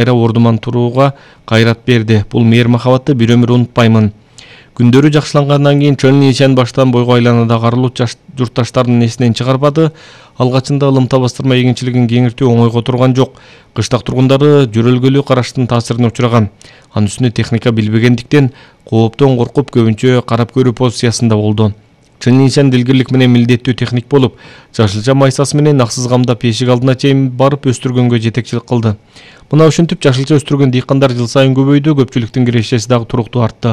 ордуман турууга кайрат берди. Бул мээр махабатты бир өмүр унутпаймын. Күндөрү жакшылангандан кийин Чөнүн Ишен баштан бойго айланадагы арылуу журтташтардын эсинен чыгарбады. Алгачында ылымта бастырма эгинчилигин кеңиртүү оңойго турган жок. Кыштак тургундары жөрөлгөлүү караштын таасирине учураган. Анын үстүнө техника билбегендиктен кооптон коркуп көбүнчө карап көрүү позициясында болду. Чөнүн Ишен дилгирлик менен милдеттүү техник болуп, жашылча майсасы менен аксыз камдап эшик алдына чейин барып өстүргөнгө жетекчилик кылды. Мына ушинтип жашылча өстүргөн дыйкандар жыл сайын көбөйдү, көпчүлүктүн кирешеси дагы туруктуу артты.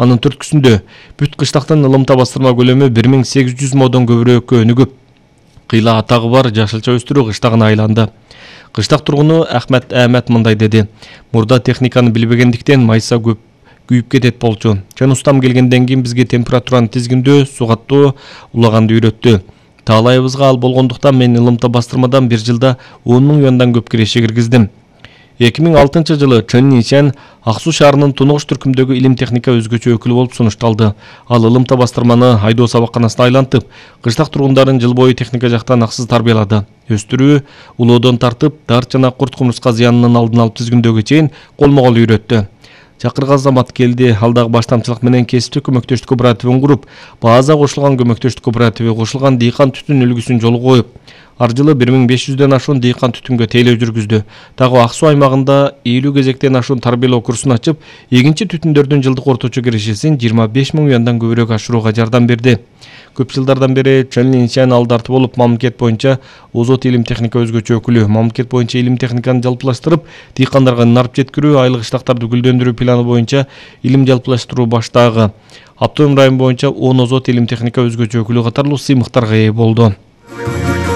Анын түрткүсүндө бүт кыштактын ылымта бастырма көлөмү 1800 модон көбүрөөккө өнүгүп, кыйла атагы бар жашылча өстүрүү кыштагына айланды. Кыштак тургуну Ахмет Ахмет мындай деди: "Мурда техниканы билбегендиктен майса көп күйүп кетет болчу. Чын устам келгенден кийин бизге температураны тизгиндөө, сугаттоо, улаганды үйрөттү. Таалайыбызга ал болгондуктан мен ылымта бастырмадан бир жылда 10 000 юандан көп киреше киргиздим." 2006 жылы Чөнүн Ишен Ак Суу шаарынын тунугуш түркүмдөгү илим техника өзгөчө өкүлү болуп сунушталды. Ал ылымта бастырманы айдоо сабакканасына айлантып, кыштак тургундарын жыл бою техника жактан аксыз тарбиялады. Өстүрүү, улоодон тартып, дарт жана курт кумурска зыянынын алдын алып тизгиндөөгө чейин колмо-кол үйрөттү. Чакырган замат келди. Ал дагы баштамчылык менен кесиптик көмөктөштүк кооперативин куруп, база кошулган көмөктөштүк кооперативи кошулган дыйкан түтүн үлгүсүн жолго коюп, ар жылы 1500ден ашуун дыйкан түтүнгө тейлөө жүргүздү. Дагы Ак Суу аймагында 50 кезектен ашуун тарбиялоо курсун ачып, эгинчи түтүндөрдүн жылдык орточо кирешесин 25 000 юандан көбүрөөк ашырууга жардам берди. Көп жылдардан бери Чөнүн Ишен алдарты болуп, мамлекет боюнча озот илим техника өзгөчө өкүлү. Мамлекет боюнча илим техниканы жалпылаштырып, дыйкандарга нарып жеткирүү, айлык ыштактарды гүлдөндүрүү планы боюнча илим жалпылаштыруу баштагы. Автоном район боюнча 10 озот илим техника өзгөчө өкүлү катарлуу сыймыктарга ээ болду.